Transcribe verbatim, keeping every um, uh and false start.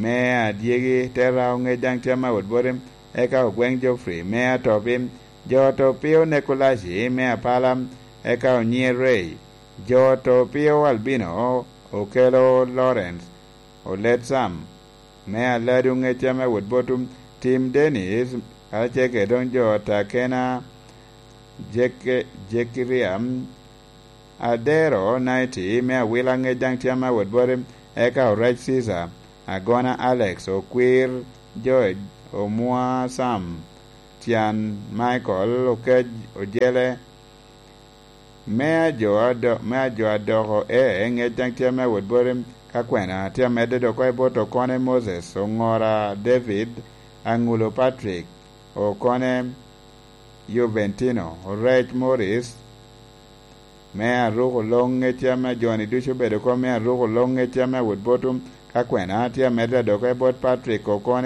me adyegi, Terra Oŋec daŋ tye me awot boti, eka Ogweŋ Geoffrey me Atopi, jo Otopio Nekulaci me Apala, eka Onyier Ray, jo Otopio Albino, Okelo Lawrence, Olet Sam me Aladu Oŋec tye me awot boti, Tim Dennis, karacel kede doŋ jo Takena, Jeke- Jekiria, Adero Naiti me Awila Oŋec daŋ tye me awot boti, eka Orec Caesar, Agona Alex, Okwir George, Omwa Sam, Tyan Michael, Okej Ojele, me ajo ado- me ajo adoko e Oŋec daŋ tye me awot boti, ka kwena tye amedde dok oko i bot Okone Moses, Oŋora David, Aŋulo Patrick, Okone Juventino, Orec Morris, me Aruko Loŋ Ŋec ame jo-ni ducu obedo oko, me Aruko Loŋ Ŋec ame awot boti, ka kwena tye amedde dok oko i bot Patrick Okone,